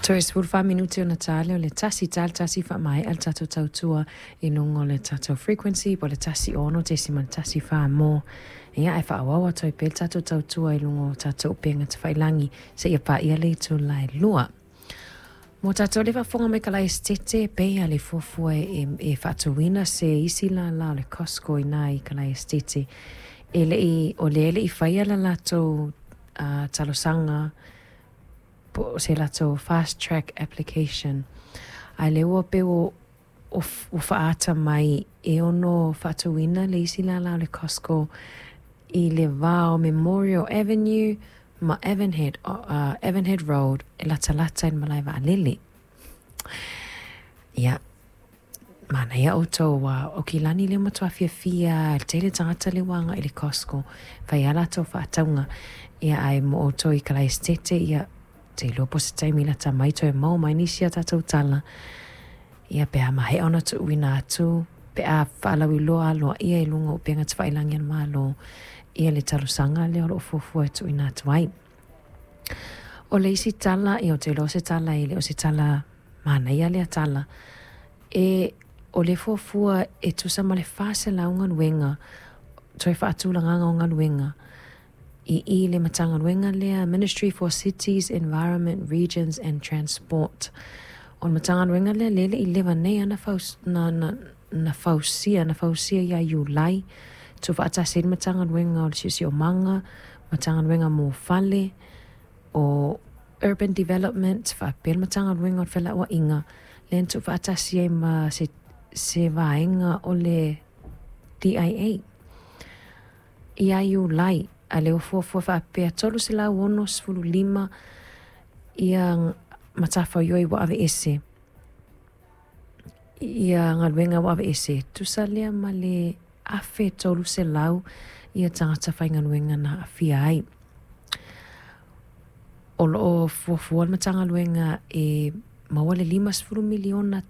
Toe 14 minute ona ta lea o le tasi ta le tasi faamaea le tatou tautua i luga o le tatou frequency po o le 106.14 mo. Ia ae faaauau atu ai pea le tatou tautua i luga o tatou upega tafailagi seia paia le itula e 2. Mo tatou le faafofoga mai Kalaesetete, pei lava le fuafua e, e faatuina se isi lālā o le Costco i ina i Kalaesetete. E le i, o lea e le i faia le latou uh, talosaga po o se latou fast track application. Ae lea ua pei ua, ua faaata mai e ono faatuina le isi lālā o le Costco i le va o Memorial Avenue ma Avonhead, uh, Avonhead Road e latalata i le malae vaalele. Ia, manaia outou ua o Kilani lea matua fiafia le tele tagata lea ua agai i le Costco fai a latou faatauga. Ia ae mo outou i Kalaesetete, ia te iloa po o se taimi lata mai toe maua mai nisi a tatou tala. Ia pe a maea ona tuuina atu, pe a faalauiloa aloaia i luga o upega tafailagi a le Malo, ia le talosaga lea o lo o fuafua e tuuina atu ai. O le isi tala, ia ou te iloa o se tala e le o se tala manaia lea tala, e o le fuafua e tusa ma le 400 galuega, toe faatulagaga o galuega, i i le Matagaluega lea, Ministry for Cities, Environment, Regions and Transport. O le Matagaluega lea, lea e le i leva nei lava na, na, na fausia, na fausia ia Iulai, tuufaatasi ai le Matagaluega o le Siosiomaga, Matagaluega mo Fale, o Urban Development, faapea le Matagaluega o le Felauaiga, lea na tuufaatasi ai ma se, se vaega o le DIA. Ia Iulai, a lea ua fuafua faapea 365 ia matafaioi ua aveese, ia galuega ua aveese, tusa lea ma le 1,300 ia tagata faigaluega na aafia ai. O lo o fuafua le Matagaluega e maua le $50 miliona.